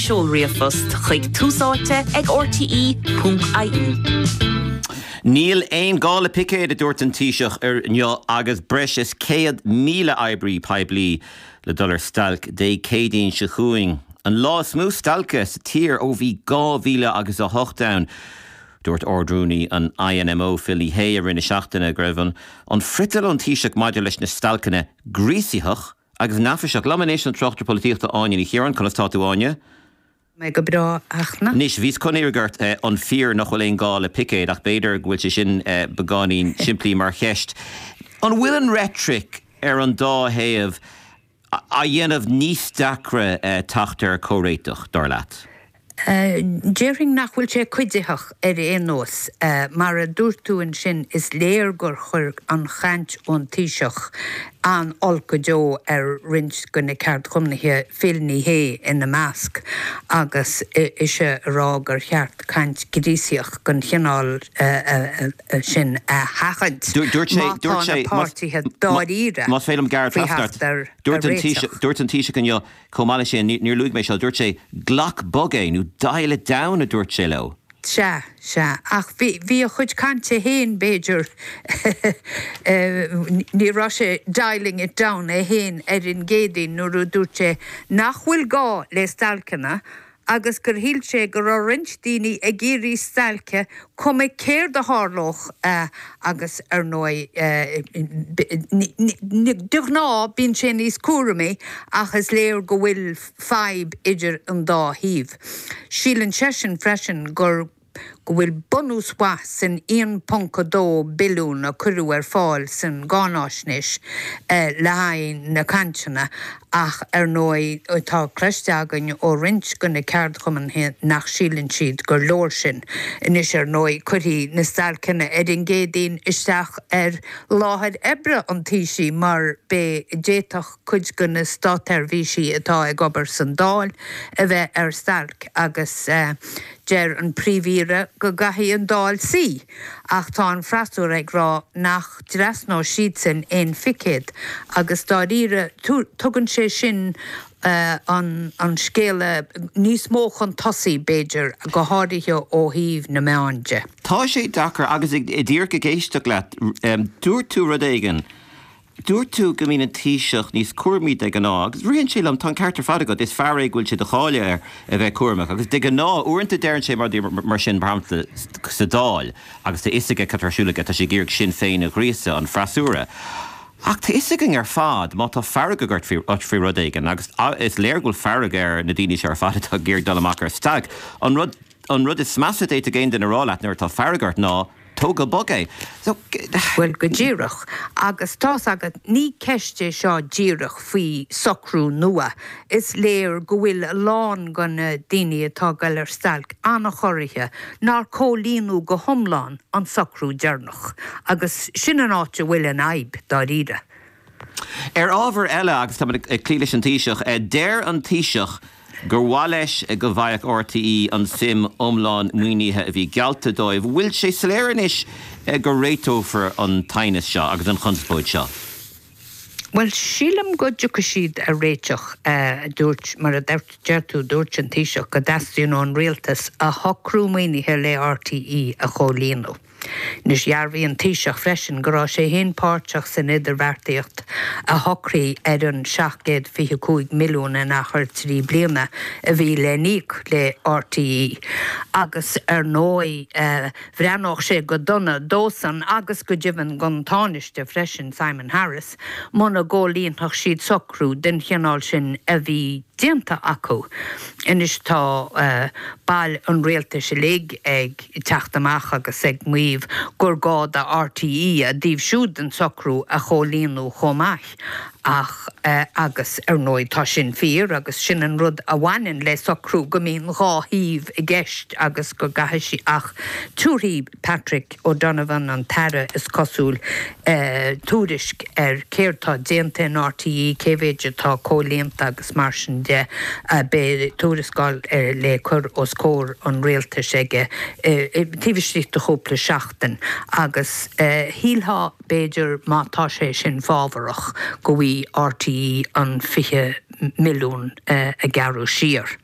seol ríomhphost chuig túsáite ag rte ponc ie. Níl aon gá le picéid, a dúirt an Taoiseach inniu agus breis is 100,000 oibrí poiblí le dul ar stailc Dé Céadaoin seo chugainn. An lá is mó stailce sa tír ó bhí 2000 agus 8 ann. Dúirt Ard-Rúnaí an INMO, Phil Ní Sheaghdha, i rith na seachtaine go raibh an friotal ón Taoiseach maidir leis na stailceanna gríosaitheach agus neafaiseach. Liom anois an tráchtaire polaitíochta Áine Ní Chiaráin. Conas tá tú Áine? Mé go breá, a Fhachtna. Anois, bhíos chun iarraidh ort an fíor nach bhfuil aon gá le picéid ach b'fhéidir go bhfuil sé sin beagáinín simplí mar cheist. An bhfuil an reitric ar an dá thaobh á dhéanamh níos deacra teacht ar chomhréiteach, dar leat? Déarfainn nach bhfuil sé cuiditheach ar aon nós. Mar a dúirt tú ansin, is léir gur chuir an chaint ón Taoiseach an-olc go deo ar roinnt de na ceardchumannaithe, Phil Ní Sheaghdha ina measc, agus ise ag rá gur cheart caint ghríosaíoch den chineál sin a sheachaint má tá na páirtithe dáiríre Más féidir liom gearradh faoi trasna ort, theacht ar dúirt an réiteach. Dúirt an Taoiseach inniu chomh maith leis sin, níor luaigh mé seo, dúirt sé glac bog é nó dial it down a dúirt sé leo. Sea, sea, ach bhí, bhí a chuid cainte féin, b'fhéidir, ní raibh sé dialing it down é féin ar an gCéadaoin nuair a dúirt sé nach bhfuil gá le stailceanna agus gur shíl sé go raibh roinnt daoine ag iarraidh stailce cuma céard a tharlódh agus ar ndóigh de ghnáth bíonn sé níos cúramaí ach is léir go bhfuil fadhb idir an dá thaobh. Síleann seisean freisin gur go bhfuil bunús mhaith san 1.2 billiún a cuireadh ar fáil san gcáináisnéis le haghaidh na cainteanna ach ar ndóigh tá cloiste againn ó roinnt de na ceardchumannaithe nach síleann siad gur leor sin. Anois ar ndóigh cuirfidh na stailceanna ar an gCéadaoin isteach ar láthair oibre an Taoisigh mar beidh d'fhéadfadh cuid de na státsheirbhísigh atá ag obair san Dáil a bheith ar stailc agus deir an Príomh-Aoire go gcaithfidh an Dáil suí ach tá an freasúra ag rá nach dtrasnóidh siadsan aon phicéad agus dáiríre tugann sé sin an scéala níos mó chun tosaigh b'fhéidir, go háirithe ó thaobh na meán de. Tá sé deacair agus díreach ag éisteacht leat, dúirt tú rud éigin Dúirt tú go mbíonn an Taoiseach níos cúramaí de ghnáth, agus ritheann sé liom, tá an ceart ar fad agat, is fear é go bhfuil sé de cháil air a bheith cúramach, agus de ghnáth, uaireanta deireann sé mar sin, mar shampla, sa Dáil, agus tá fhios aige cad tá ar siúl aige, tá sé ag iarraidh Sinn Féin a ghríosadh, an freasúra. Ach tá fhios againn ar fad, má tá fearg agat faoi rud éigin, agus is léir go bhfuil fearg ar na daoine seo ar fad atá ag iarraidh dul amach ar stailc, an rud, An rud is measa a d'fhéadfadh aon duine a rá leat nuair atá fearg ort ná tóg go bog é. So. Bhuel, go díreach. Agus tá's agat, ní ceist é seo díreach faoi socrú nua. Is léir go bhfuil a lán de na daoine atá ag dul ar stailc an-chorraithe nár comhlíonadh go hiomlán an socrú deireanach. Agus sin an áit a bhfuil an fhadhb, dáiríre. Ar ábhar eile, agus táimid ag cloí leis an Taoiseach, deir an Taoiseach gur mhaith leis go bhfaigheadh RTÉ an tsuim iomlán maoinithe a bhí geallta dóibh. Bhfuil sé soiléir anois go réiteofar an t-aighneas seo agus an chonspóid seo? Bhuel, sílim go dtiocfaidh siad ar réiteach. Dúirt, mar a deir tú, dúirt an Taoiseach go dteastaíonn ón rialtas a shocrú maoinithe le RTÉ a chomhlíonadh. Anois, dhearbhaigh an Taoiseach freisin go raibh sé féin páirteach san idirbheartaíocht a shocraigh ar an 725 milliún in achar 3 bliana a bhí le n-íoc le RTÉ agus ar ndóigh bhreathnódh sé go dona dósan agus go deimhin don Tánaiste freisin, Simon Harris, muna gcomhlíonfadh siad socrú den chineál sin a bhí déanta acu. Anois tá baill an rialtais uilig ag teacht amach agus ag maíomh gur gá do RTÉ a dtaobh siúd den socrú a chomhlíonadh chomh maith ach agus ar ndóigh tá sin fíor agus sin an rud a bhaineann le socrú go mbíonn dhá thaobh i gceist agus go gcaithfidh sí ach tabharfaidh Patrick O'Donovan, an tAire, is cosúil, tuairisc ar céard tá déanta in RTÉ, cé mhéid atá comhlíonta agus mar sin de. Beidh tuarascáil le cur os comhair an rialtais aige taobh istigh de chúpla seachtain agus shílfeá, b'fhéidir, má tá sé sin fábharach, go bhfaighidh RTÉ an 20 milliún a gearradh siar.